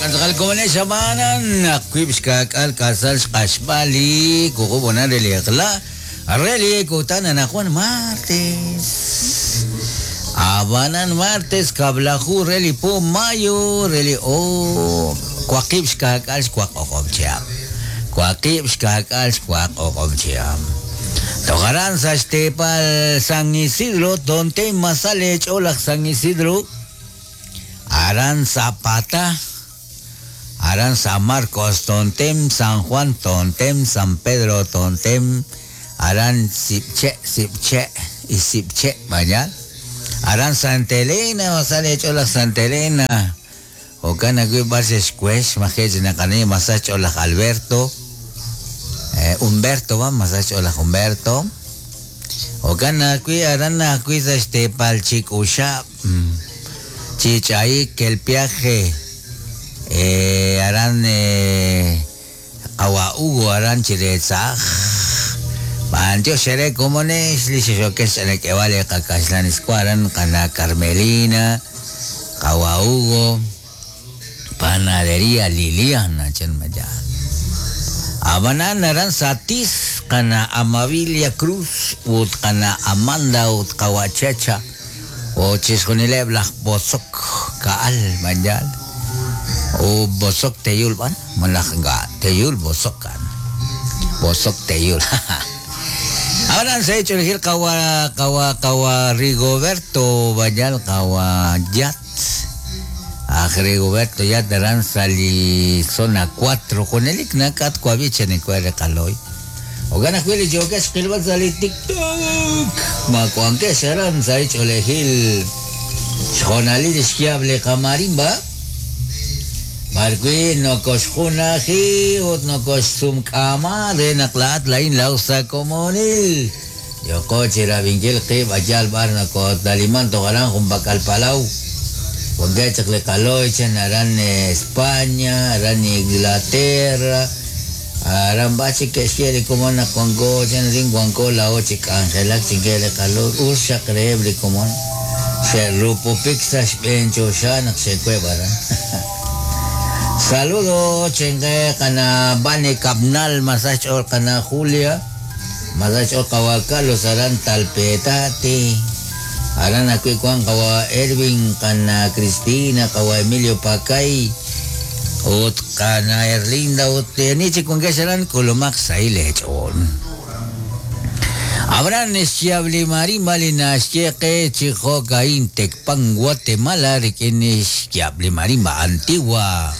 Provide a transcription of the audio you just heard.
Jo'kan xab'aanan naq wiib' xka'k'aal k'asal xq'axb'al li wuqub' honal re li eq'la re li kutan anaqwan martes. Ab'anan martes kab'laju re li po mayo re li oob' waqib' xka'k'aal xwaq o'q'ob' chihab'. Waqib' xka'k'aal xwaq o'q'ob' chihab'. Toj aran sa' xteepal San Isidro, Tontem masal eech'ool laj San Isidro. Aran Zapata, aran San Marcos Tontem, San Juan Tontem, San Pedro Tontem, aran Sipche, Sipche y Sipche, vaya. Aran Santa Elena, masal eech'ool laj Santa Elena. Jo'kan ajwi' b'ar xe'xwex maje' chi naqani masach ch'ool laj Alberto. Humberto va, masach ch'ool laj Humberto. Jo'kan ajwi' aran ajwi' sa' xteepal Chik'uxab', chi ch'ayik el piaje, aran qawa' Hugo aran chire tz'aj. B'antiox eere komonex li xexokex ch'anak'eb'al li qakaxlan iswa aran qana' Carmelina, qawa' Hugo, Panadería Liliana chan maya. Ab'anan aran Satis qana' Amabilia Cruz ut qana' Amanda ut qawa' Chacha ut chixjunileb' laj Bozok Ka'al b'anyaal u Bozok Teyul b'an malaj ink'a' Teyul Bozok a'an Bozok Teyul Ab'anan sa' ch'oolejil qawa' qawa' qawa' Rigoberto b'anyaal qawa' Yat Aj Rigoberto Yat aran sa' li zona 4 junelik nak'at wab'i chenikwe re qaloy. Jo'kan ajwi' li yookex xqilb'al sa' li TikTok. Ma wankex aran sa' li ch'oolejil xjoonalil li xyaab' li qamarimba? B'arwi' nokoxjunaji ut nokoxsumk'aama re naq laa'at laa'in laa'o sa' komonil. Yooko chi rab'inkil qib' a yaal b'ar nokootaliman toj aran junpak'al palaw. Wankeb' chaq li qalooy chan aran España, aran Inglaterra, aran b'ar chik ke'xye li komon naq wanko chan arin wanko laa'o chi k'anjelak chinkeb' li qalooy. Us xaq reheb' li komon xe'rupupik sa' xb'een choxa naq xe'web' aran. Saludo chenqe qana Vane Kabnal masach xch'ool qana Julia. Masach xch'ool qawa' Carlos aran Talpetate. Aran ajwi' wank qawa' Ervin, qana Cristina, qawa' Emilio Pakay ut qana Erlinda ut ani chik wankex aran k'ulumaq xsahil eech'ool. Ab'anan xyaab' li marimba li naxye qe chi jo'ka'in Tecpan Guatemala rik'in xyaab' li marimba antigua.